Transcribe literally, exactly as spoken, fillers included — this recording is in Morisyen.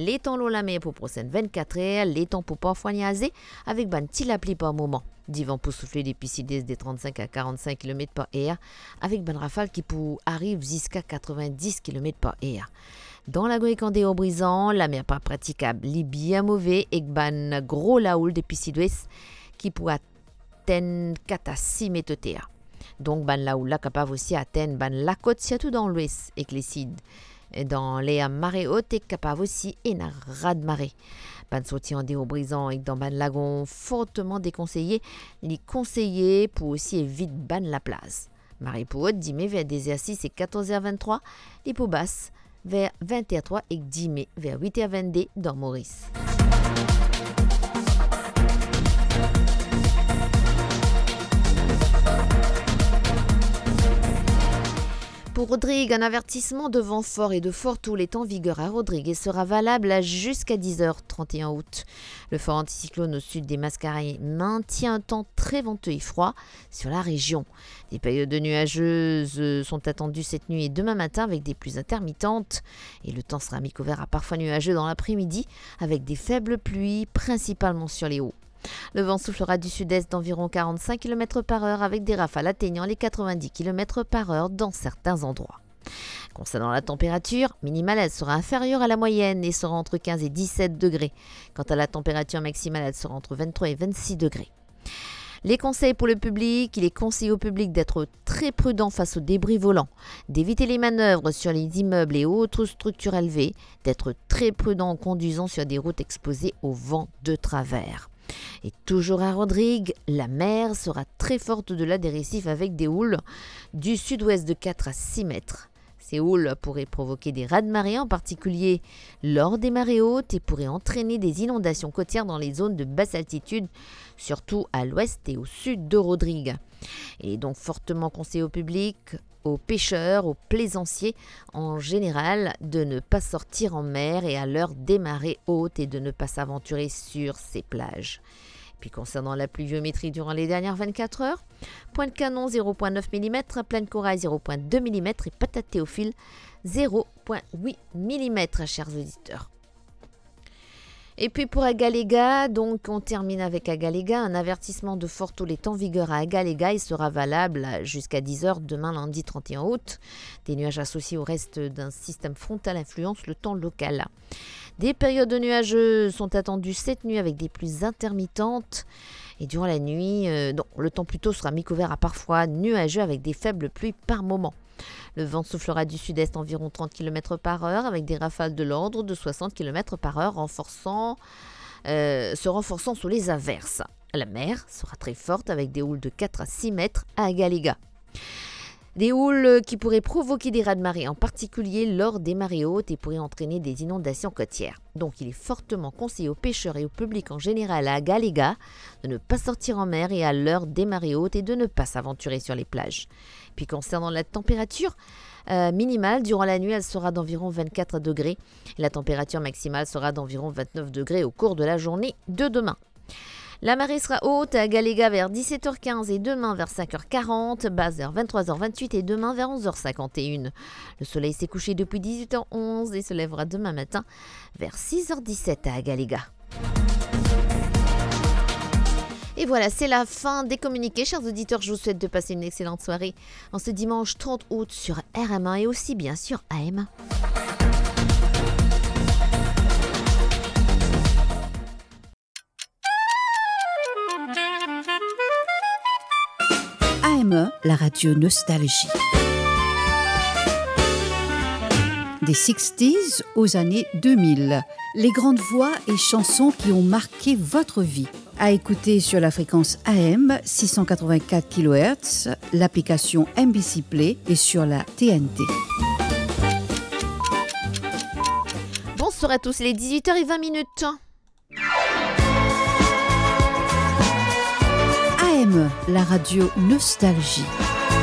Letan lor lamer pou prosenn vennkat er, letan pou parfwa niaze, avek bann ti lapli par moman. Divan pou soufle depi sidwes de trannsenk a karannsink kilomet par er, avek bann rafal ki pou ariv ziska katrovin-dis kilomet par er. Dan Lagon ek andeor Brizan, lamer pa pratikab, li bien move ek bann gro laoul depi sidwes ki pou atenn kat a sis met oter. Donk, bann laoul la kapav osi atenn bann lakot, sirtou dan lwes ek lesid. Dan ler mare ot, e kapav osi ena rad mare. Bann sorti andeor Brizan ek dan bann lagon forteman dekonseye, li konseye pou osi evit bann laplaz. Mare pou ot, dime ver dezersis e katorz er venntrwa, li pou bas ver vent er trwa ek dime ver wit er vennde dan Moris. Pour Rodrig, un avertissement de vent fort et de fort houle est en vigueur à Rodrigues et sera valable à jusqu'à dix heures trente et un août. Le fort anticyclone au sud des Mascareignes maintient un temps très venteux et froid sur la région. Des périodes nuageuses, euh, sont attendues cette nuit et demain matin avec des pluies intermittentes. Et le temps sera mi-couvert à parfois nuageux dans l'après-midi avec des faibles pluies, principalement sur les hauts. Le vent soufflera du sud-est d'environ quarante-cinq kilomètres par heure avec des rafales atteignant les quatre-vingt-dix kilomètres par heure dans certains endroits. Concernant la température, minimale, elle sera inférieure à la moyenne et sera entre quinze et dix-sept degrés. Quant à la température maximale, elle sera entre vingt-trois et vingt-six degrés. Les conseils pour le public, il est conseillé au public d'être très prudent face aux débris volants, d'éviter les manœuvres sur les immeubles et autres structures élevées, d'être très prudent en conduisant sur des routes exposées au vent de travers. Et toujours à Rodrigues, la mer sera très forte au-delà des récifs avec des houles du sud-ouest de quatre à six mètres. Ces houles pourraient provoquer des raz-de-marée, en particulier lors des marées hautes, et pourraient entraîner des inondations côtières dans les zones de basse altitude, surtout à l'ouest et au sud de Rodrigues. Il est donc fortement conseillé au public, aux pêcheurs, aux plaisanciers en général, de ne pas sortir en mer et à l'heure des marées hautes et de ne pas s'aventurer sur ces plages. Puis concernant la pluviométrie durant les dernières vingt-quatre heures, Pointe-Canon, zéro point neuf millimètres, Plaine-Corail, zéro point deux millimètres et Patate-Théophile, zéro point huit millimètres, chers auditeurs. Et puis pour Agalega, donc on termine avec Agalega. Un avertissement de forte houle est en vigueur à Agalega et sera valable jusqu'à dix heures demain lundi trente et un août. Des nuages associés au reste d'un système frontal influencent le temps local. Des périodes nuageuses sont attendues cette nuit avec des pluies intermittentes. Et durant la nuit, euh, donc, le temps plutôt sera mi-couvert à parfois nuageux avec des faibles pluies par moments. Le vent soufflera du sud-est environ trente kilomètres par heure avec des rafales de l'ordre de soixante kilomètres par heure, renforçant, euh, se renforçant sous les averses. La mer sera très forte avec des houles de quatre à six mètres à Agalega. Des houles qui pourraient provoquer des raz-de-marée, en particulier lors des marées hautes, et pourraient entraîner des inondations côtières. Donc, il est fortement conseillé aux pêcheurs et au public en général à Agalega de ne pas sortir en mer et à l'heure des marées hautes et de ne pas s'aventurer sur les plages. Puis concernant la température, euh, minimale, durant la nuit, elle sera d'environ vingt-quatre degrés. La température maximale sera d'environ vingt-neuf degrés au cours de la journée de demain. La marée sera haute à Agalega vers dix-sept heures quinze et demain vers cinq heures quarante, basse vers vingt-trois heures vingt-huit et demain vers onze heures cinquante et une. Le soleil s'est couché depuis dix-huit heures onze et se lèvera demain matin vers six heures dix-sept à Agalega. Et voilà, c'est la fin des communiqués. Chers auditeurs, je vous souhaite de passer une excellente soirée en ce dimanche trente août sur R M un et aussi bien sûr A M. A M E, la radio nostalgie. Des sixties aux années deux mille, les grandes voix et chansons qui ont marqué votre vie. À écouter sur la fréquence A M six cent quatre-vingt-quatre kilohertz, l'application M B C Play et sur la T N T. Bonsoir à tous, il est dix-huit heures et vingt minutes. A M E, la radio nostalgie.